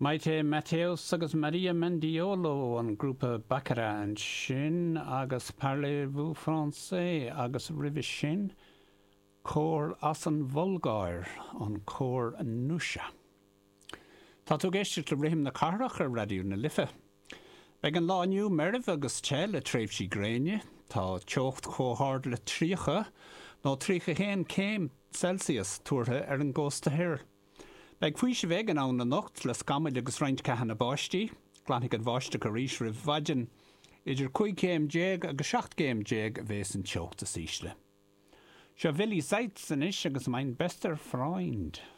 Mayte Mateos agus Maria Mendiolo, an grúpa Bacarra ansin agus Parlez-vous Français agus roimhe sin cór as an Bhulgáir, an cór Nusha. Tá tú ag éisteacht le Rithim na Cathrach ar Raidió na Life. Beidh an lá inniu meirbh agus te le tréimhsí gréine. Tá teocht chomh hard le 30 nó 31 céim Celsius tuartha ar an gcósta thoir. Beidh faoiseamh éigin ann anocht le scamaill agus roinnt ceathanna báistí. Glanfaidh an bháisteach arís roimh mhaidin. Idir 15 céim agus 17 gcéim a bheas an teocht is ísle. Seo Willi Seitz anois agus Mein bester Freund.